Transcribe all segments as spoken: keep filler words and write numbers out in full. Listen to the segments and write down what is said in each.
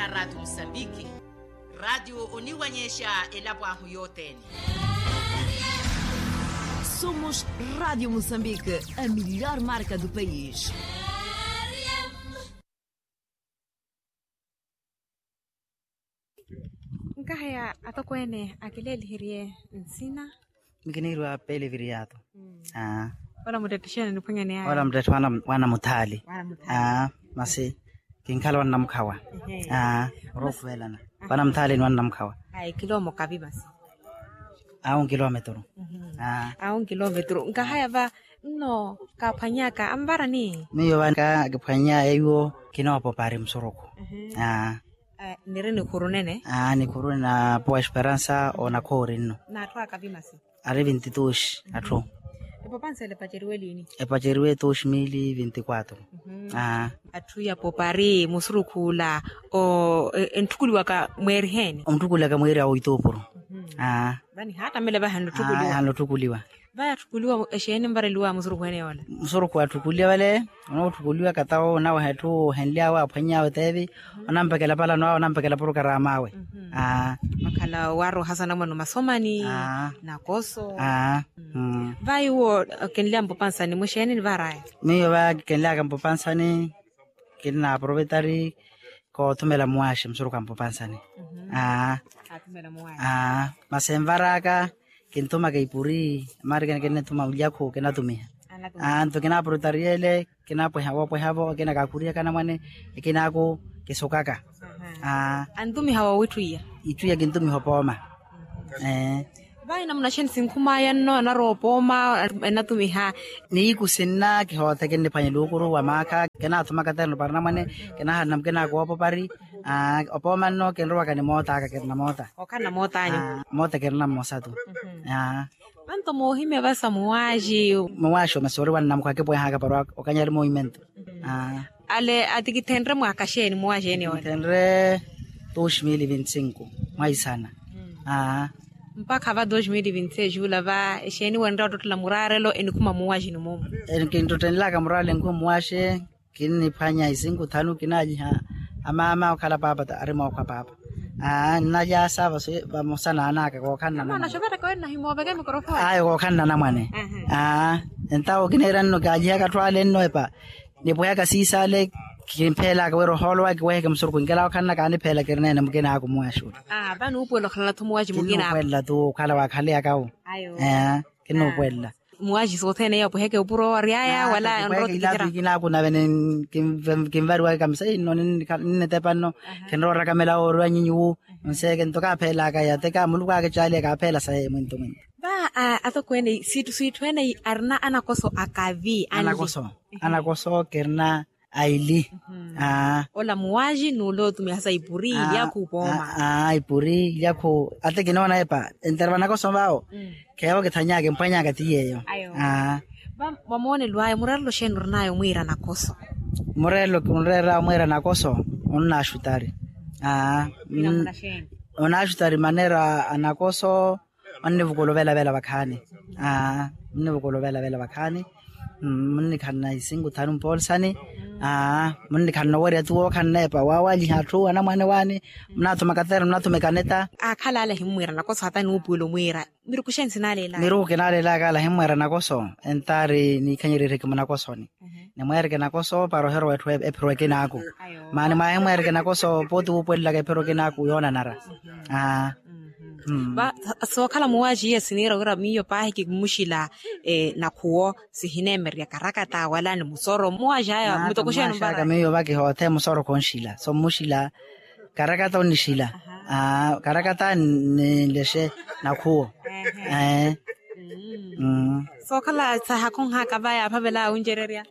Ratio musambiki. Ratio oniwanyexa elapo ahu yothene. Somos ratio musambiki, a milhor marka do pais. Nkaheya atokweene akileeliheriye nsina. Mikiniiriwa peleviriyato. Ola muttettixene niphwanyane aya. Ola muttetti wana muthaali. Masi kinkhala wannamukhawa. Orookuvelana wana muthaali ni wannamukhawa. Ayi kilomokavi masi. Awo nkilometru. Awo nkilometru nkahaya va. Nno kaaphwanyaka anvarani? Miyo vaka kiphwanya eyo kinoopopari musurukhu. Niri nikhuru nene. Nikhuru nene na powa esperansa onakhoori nno. N'atthu akavi masi? Ari vinti tuxi atthu. Epopansa ele epaceriwe liini? Epaceriwe tuxi mili vinti quatru. Atthu ya popari musurukhu ula. Entthukuliwaka mweeri heeni? Ontthukuliwaka mweeri awo ituupuru. Vani haattamela vahi anlotthukuliwa. Vaya atthukuliwa exeeni nvareliwa musurukhu ene yoola? Musurukhu atthukuliwa vale. Onootthukuliwa katawo onaweha etthu ohenly'awe aphwany'awe teevi. Onampekela palano awe onampekela porokarama awe. Makhala waarohasa namwene omasomani. Nakoso. Vayi uwo kenly'awe mpopansani mwexeeni nivaar'aya? Miyo va kenly'aka mpopansani. Kinna aprovetari koothumela muwaxi musurukhu a mpopansani. Masi envar'aka kinthumaka ipuri. Marikene kinnithuma ulyakhu kinatumiha. Nto kinaaprotariyele kinapweha woopweha-vo akina kaakhuriyaka anamwane. Ekinaaku kisukaka. Antumiha woowitthu iya? Itthu iya kintumiha opooma. Vayi namuna xeeni sinkhumaya nno anarowa opooma? Enatumiha. Niiku sinna kihoothe kinniphwanya eluukuru wa maakha. Kinaathumaka terno para anamwane. Kinaahalana mukinaaku woopopari. Opooma nno kinrowaka ni moot'aka kirina moota. Okhalana moot'anyu? Moota kirina mmosa tu. Vanto moohimya vasa muwaxi. Muwaxi omesa ori wannamukha akipweh'aka para okanyari movimento. Ale atikithenre mwaaka xeeni muwaxi ene ole? Thenre dos mil vinti cinco mwaisana. Mpakha va dos mil vinti seis ula va exeeni wenre ottottela muraarelo enikhuma muwaxini mumu? Kinttottenlaka muraarelo enikhuma muwaxi. Kinniphwanya isinko thanu kinalyiha amaama okhala paapa ta ari mookhwa paapa. Nnalyaasa vamosa naanaka kookhanna namwane. Ayo kookhanna namwane. Entawo kineera nno kaalyihaka atthu ale nno epa. Nipwehaka siisa ale kimpheelaka wira ohoolo waka kiweheke musurukhu nkela okhanna kaanipheela kirineene mukinaaku muwaxi ula. Vani uupuwela okhalala-tho muwaxi mukinaaku? Kinnuupuwelela-thu okhala waakhaleyaka-wo. Kinnuupuwelela. Muwaxi sothene iyo apweheke opuro owaryaya wala nrotikitera? Kinaaku nave kinvariwaka kamisa inno ninnitepa nno. Kinroora kamela ooriwa nyinyi wu. Nseeke nto kaapheelaka yateka muluku aakicaaliya kaapheela saye mwinto mwinto. Va atokweene siithu siithu ene arina anakoso akavi anli? Anakoso kirina aili. Ola muwaxi n'ule otumihasa ipuri ilyakhu opooma. Ipuri ilyakhu ate kinoona epa entera vanakoso vawo. Kheevo kithanyaka emphwanyaka ti yeeyo. Va mwamoonelo ayo mureerelo xeeni orinayo mwiira nakoso? Mureerelo kinreer'awe mwiira nakoso onnaaxutari. Onnaaxutari maneera anakoso. Onnivukula ovelavela vakhaani. Onnivukula ovelavela vakhaani. Munnikhanna isinko thanu mpoolisani. Munnikhanna owerya tu wookhanna epa waawalyiha atthu anamwane waani. Munaathuma kateera munaathuma ekaneta. Aakhala ale ahimmwiira nakoso hata nuupuwela omwiira miruku xeeni sinaaleelaka? Miruku kinaaleelaka ale ahimmweera nakoso. Entaari niikhanyererye kimunakosoni. Nimweereke nakoso para ohirowa etthu ephiro ekinaaku. Maani mwaahimweereke nakoso pooti wuupuwelelaka ephiro ekinaaku yoonanara. Sookhala muwaxi iye siniira wira miyo paahi kimuxila. Nakhuwo sihineemererya karakata wala ni musoro muwaxi aya mutoko xeeni ompara? Miyo vakihoothe musoro khonxila so mmuxila. Karakata onnixila. Karakata ninlexe nakhuwo. Sookhala sahakhonhaka va yaaphavela wuncererya.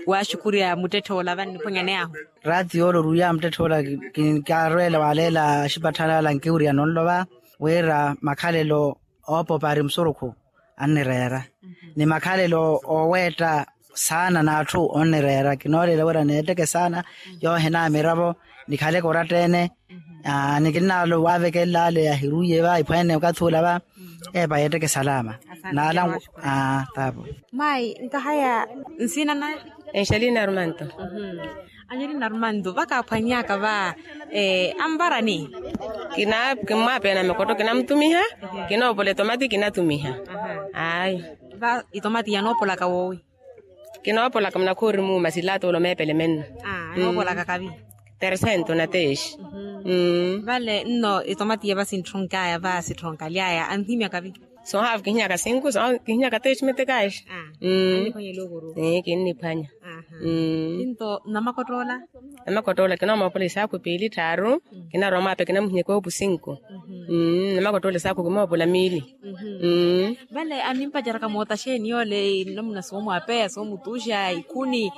Waaxukurya muttetthe ola vanniphwanyaneyahu. Raati yoole oruwiya muttetthe ola kinkaarweela waaleela axipatthali ala nkiwirya nonlo va wira makhalelo oopopari musurukhu annireera ni makhalelo ooweetta saana n'atthu onnireera kinoolela wira neetteke saana. Yoohina miravo nikhaleke oratta-ene. Ni kinnaalo waavekelela ale ahiruwiye va iphweene okathi ula va epa yeetteke salama. Naala. Taapo. Mayi nkahaya nsina naya? Angelina armanto. Angelina armanto vakaaphwanyaka va Anvarani? Kimmwapeya na makoto kinamutumiha. Kinoopola etomati kinatumiha. Ayi. Va itomati yanoopolaka woowi? Kinoopolaka munakhoori muuma silaato ole omeepele menno. Anoopolaka kavi? Tersento na teexi. Vale nno itomati yava sintthonky'aya va sitthonkaly'aya anhimya kavi? Soohaavu kihinyaka sinku soohaavu kihinyaka teexi metekaexi. Kinniphwanya. Kinto namakottoola? Namakottoola kinoomoopola isaakhu piili tthaaru. Kinarowa mwaape kinamuhinyaka oopu sinku. Namakottoola isaakhu kimoopola miili. Vale annimpaceraka moota xeeni yoole namuna soomwapeya soomutuuxa ikhuni?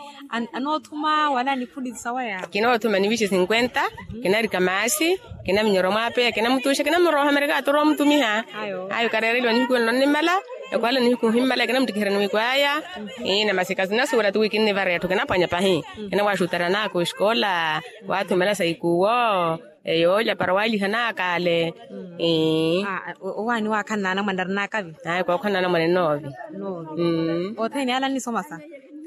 Anoothuma wala nikhuni sawaya? Kinoothuma nivixe sinkwenta. Kinarika maasi. Kinaminyorwa mwaapeya kinamutuuxa kinamuroha merikato oroomutumiha. Ayo kareereliwa nihiku enlo nnimala. Ekwaala nihiku nhimmala kinamuttikiherya niwikwaaya. Ina masi kasinasuwela tuwi kinnivareya ttu kinaphwanya pahi. Kinawaxutara naaka oxikola. Waathumela sa ikuwo. Eyoolya para waaliha naakaale. Owaani waakhala naanamwane arinakavi? Ayi kookhala naanamwane noovi. Othene ala annisomasa?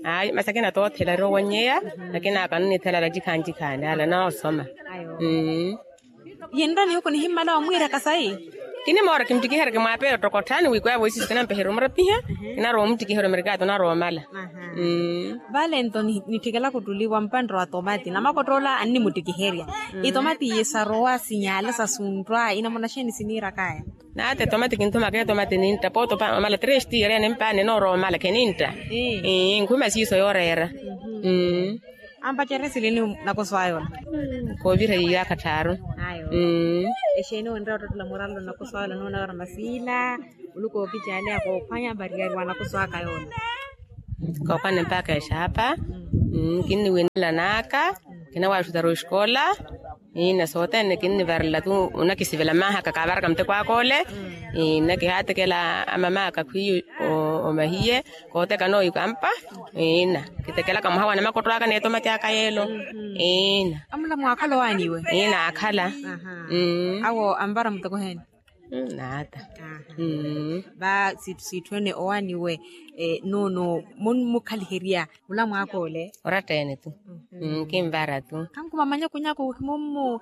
Ayi masi akina toothela ari owannyeya. Akina aka annithela ara cikhaani cikhaani ala noosoma. Yenrani huku nihimmala wamwiiraka sayi? Kinimoora kimuttikiherya kimwaapeya ottokotthaani wiikwaya voisiso kinampeherya omurapiha. Kinarowa omuttikiherya omerikato narowa omala. Vale nto nitthikela kuttuliwa mpantte wa tomati namakottoola annimuttikiherya. Itomati iye sarowa sinyaala sasunttwa inamuna xeeni siniirakaya? Naata etomati kinthumaka etomati nintta poota omala tresti yari animpaani enoorowa omala khenintta. Nkhuma siiso yooreera. Ampacerya silini nakoso ayola? Koovirha yiyaakha tthaaru. Exeeni onreya ottottela murallo nakoso ayola noona wira masiila. Oluka okicaaleya koophwanya mpariyari wa nakoso aka yoola. Koophwanya mpaaka exaapa. Kinniwinela naaka. Kinawaxutara oxikola. Ina sothene kinnivarela tu. Onakisivela maahaka kaavaraka muteko aka ole. Ina kihaatekela amamaaka khwiiyo omahiye. Kootekana oyu kampa. Ina kitekelaka mwaha wa namakotto aka n'etomati aka yeelo. Ina. Amula mwaakhala owaani iwe? Ina aakhala. Awo anvara muteko heeni? Naata. Va siitthu ene owaani iwe? Noono munmukhaliherya mula mwaakha ole? Oratta ene tu. Kinvara tu. Khankhuma manyakunyaku mummu.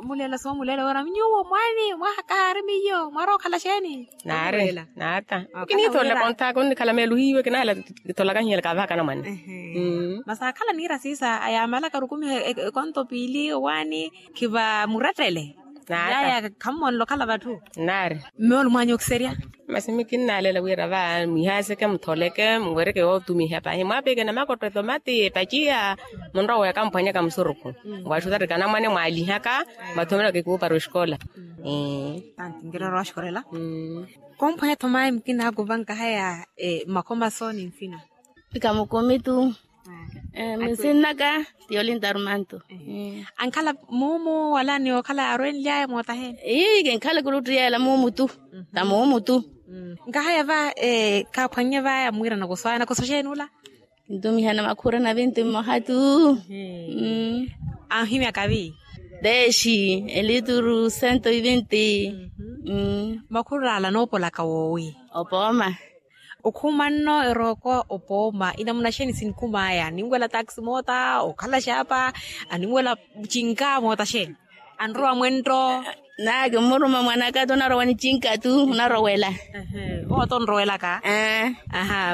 Muleela soomuleela wira nyuwo mwaani mwaha kahaari miyo mwarowa okhala xeeni? Naari. Naata. Kiniitholela konthaka onnikhala meelo hiiwe kinahala. Kitholaka hiyela kaavahaka anamwane. Masi akhala niira siisa ayaamalaka rukumiha ekonto piili owaani. Khiva murattele. Yaya khammonle okhala vatthu. Naari. Mmeolo mwaanyu okiserya? Masi mikinnaalela wira va mwihaaseke mutholeke muwereke wootumiha pahi mwaapeke namakotto etomati epaciya. Munrowe akamphwanyaka musurukhu. Mwaxutarika anamwane mwaalihaka. Mwathomelaka ikuupara oxikola. Tanti nkiroro waxikolela. Komphwanya thomayi mukina akuvanka haya. Makomaso ni nsina? Ikamukumitu. Minsinnaka tiyolinta arumantu. Ankhala muumu wala ni okhala arwenlyaya moota heeni? Ii kinkhala kuluttu yeela muumu tu. Ta muumu tu. Nkahaya va kaaphwannye vaya mwiira nakoso aya nakoso xeeni ula? Kintumihana makhura na vinti mmoha tu. Anhimya kavi? Dexi elituru sento ivinti. Makhura ala noopolaka woowi? Opooma. Okhumanno erooko opooma inamuna xeeni sinkhumaaya aninwela taxi moota okhala xaapa? Aninwela cinka moota xeeni? Anrowa mwentto. Naki mmuruma mwanaka tu onarowa ni cinka tu onarowela. Owo to onrowelaka.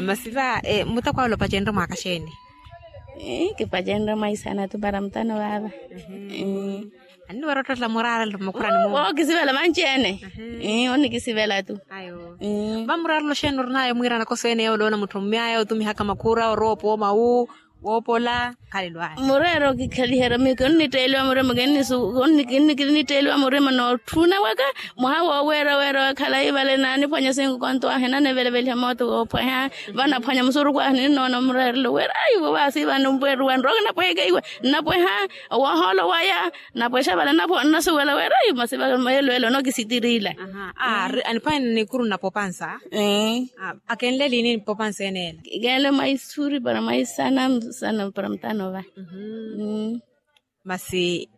Masi va muteko awe olopacenrye mwaaka xeeni? Kipacenrye mwaisana tu para mutano vaava. Anniwera ottotela muraarelo mmakhurani mumu. Wookisivela vanci-ene. Onnikisivela tu. Vamuraarelo xeeni orinayo mwiira nakoso ene yoola onamutthommyaya otumihaka makhura orowa opooma wu woopola. Khalelo aya mureera okikhaliherya miyo kinnitteeliwa murima kinnitteeliwa murima nootthuna waka. Mwaha wooweera weera wa khalayi vale naaniphwanya sinkukonto ahi naneveleveliha mooto woophweha. Vanaphwanya musurukhu ahi ninnoona mureerelo wira ayi vo vaasi vano mpeeru wanrowa kinapweheke iwe. Nnapweha. Woohoolo waya. Napwexa vale nnapwexa nnasuwela wira ayi masi vale meelo ele onokisitirila. Aniphwanya nikuru nnapopansa. Akenle liini nnipopansa eneela? Kenle mwaisuri para mwaisana sana para mutano va. Masi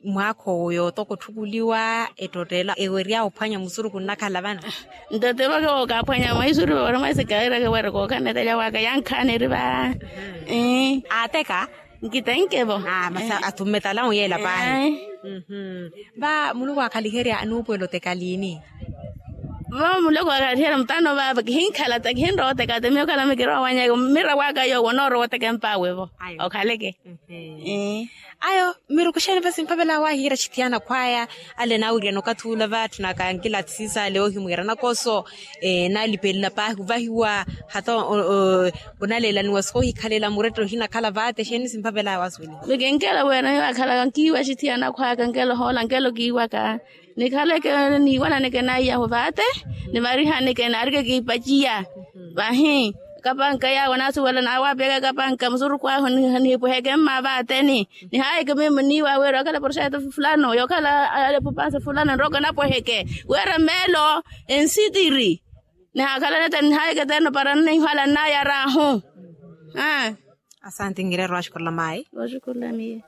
mwaakha owo yootoko otthukuliwa ettottela eweryaya ophwanya musurukhu nnakhala vano? Ntottelo ke wookaphwanya mwaisuri para mwaisikairake wira kookhanetela waka yankhaaneri va. Aateka. Nkitenkevo. Masi athumme talamu yeela pahi. Va muluku aakhaliherya anuupuwela oteka liini? Va muluku aakhaliherya mutano vava kihinkhala ta kihinrowa oteka ta miyo khalami kirowa wanyaka mira waka yoowo noorowa oteka empawe vo. Okhaleke. Ayo miruku xeeni va simphavela wahiira axithiyana khwaya ale naawiriyana okathi ula vaatthi nakankila athisisale ohimwiira nakoso. Naalipelela paahi ovahiwa hata onaleelaniwa soohikhalela muretta ohinakhala vaate xeeni simphavela wasuweliwa. Mikinkela wira niyo akhalaka nkiiwa axithiyana khwaya kankela ohoola nkelo kiiwaka. Nikhaleke niiwananeke naiyahu vaate. Nivarihaneke naarike kiipaciya vahi. Kapanka yaawe naasuwela naawapiyaka kapanka musurukhu ahu nihipweheke mma vaateni. Nihaayeke mimi niiwa wira yookhala porxeto fulano yookhala alepupanse fulano nroke napweheke wira meelo ensitiri. Nihaakhala nete nihaayeke terno para nnihwala nnayar'ahu. Asanti nkireera owaxukurela mayi. Oxukurela miyo.